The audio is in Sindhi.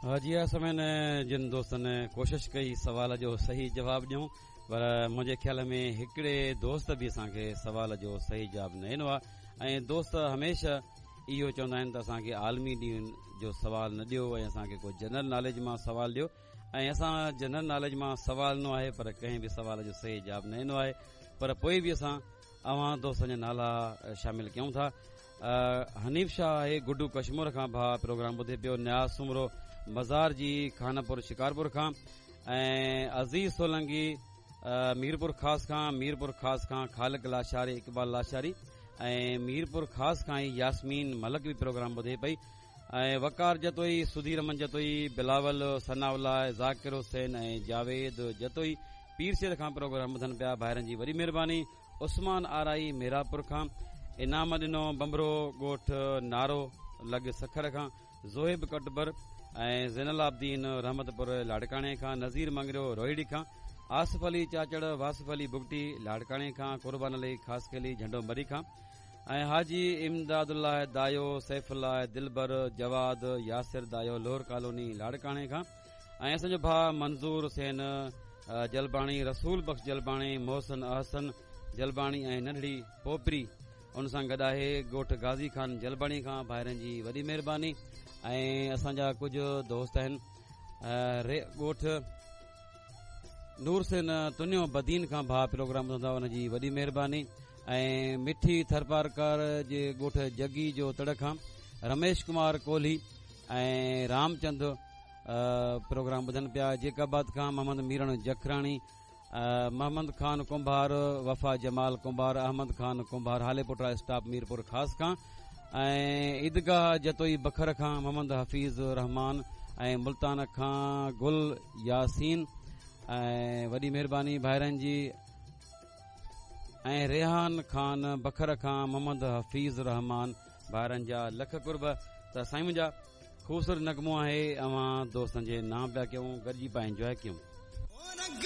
جي ها سامعين جن دوستن ڪوشش ڪئي سوال جو صحيح جواب ڏيون پر منهنجي خيال ۾ هڪڙي دوست به اسان کي سوال جو صحيح جواب نه ڏنو آهي ۽ دوست هميشه اهو چوندا آهن ته اسان کي عالمي ڏينهن جو سوال نه ڏيو ۽ اسان کي ڪو جنرل ناليج مان سوال ڏيو ۽ اسان جنرل ناليج مان سوال ڏنو آهي پر ڪنهن به سوال جو صحيح جواب نه ڏنو آهي پر پوء به اسان اوهان دوستن جا نالا شامل ڪيون ٿا حنيف شاهه آهي گڊو ڪشمور کان ڀاء پروگرام ٻڌي پيو نياز سومرو مزار جي خانپور شڪارپور کان ۽ عزيز سولنگي ميرپور خاص کان ميرپور خاص کان خالق لاشاري اقبال لاشاري ۽ ميرپور خاص کان ئي ياسمين ملڪ به پروگرام ٻڌي پئي ۽ وقار جتوئي سڌير امن جتوئي بلاول ثناء الله ذاڪر حسين ۽ جاويد جتوئي پير سيد کان پروگرام ٻڌن پيا ڀائرن جي وڏي مهرباني عثمان آرائي ميراپور کان انعام ڏنو بمبرو ڳوٺ نارو لڳ سکر کان زوهيب ڪٽبر ۽ زين العابدين رحمت پور لاڙڪاڻي کان نذير مڱريو روهيڙي کان آصف علي چاچڙ واصف علي بگٽي لاڙڪاڻي کان قربان علي خاصخيلي جهنڊو مري کان ۽ حاجي امداد الله دايو سيف الله دلبر جواد ياسر دايو لوهر ڪالوني لاڙڪاڻي کان ۽ اسان جو ڀاء منظور حسين جلباڻي رسول بخش جلباڻي محسن احسن جلباڻي ۽ ننڍڙي پوپري ان سان گڏ آهي ڳوٺ غازي خان جلباڻي کان ڀائرن جي وڏي مهرباني ۽ اسان جا ڪجهه دوست آهن ڳوٺ نور حسين تنيو بدين کان ڀاء پروگرام ٻڌندا ان جي وڏي مهرباني ۽ مٺي ٿرپارڪر جي ڳوٺ جگي جو تڙ کان رميش ڪمار ڪولهي ۽ رامچند پروگرام ٻڌن پيا جيڪب آباد کان محمد ميرڻ جکراڻي محمد خان ڪنڀار وفا جمال ڪنڀار احمد خان ڪنڀار هاليپوٽا اسٽاپ ميرپور خاص کان ۽ عيدگاهه جتوئي بکر کان محمد حفيظ رحمان ۽ ملتان کان گل ياسين ۽ وڏي مهرباني ڀائرن جي ۽ ريحان خان بکر کان محمد حفيظ رحمان ڀائرن جا لک قرب ته سائين منهنجا خوبصورت نغمو آهي اوهان دوستن جي نام پيا ڪيون گڏجي پيا انجواء ڪيون.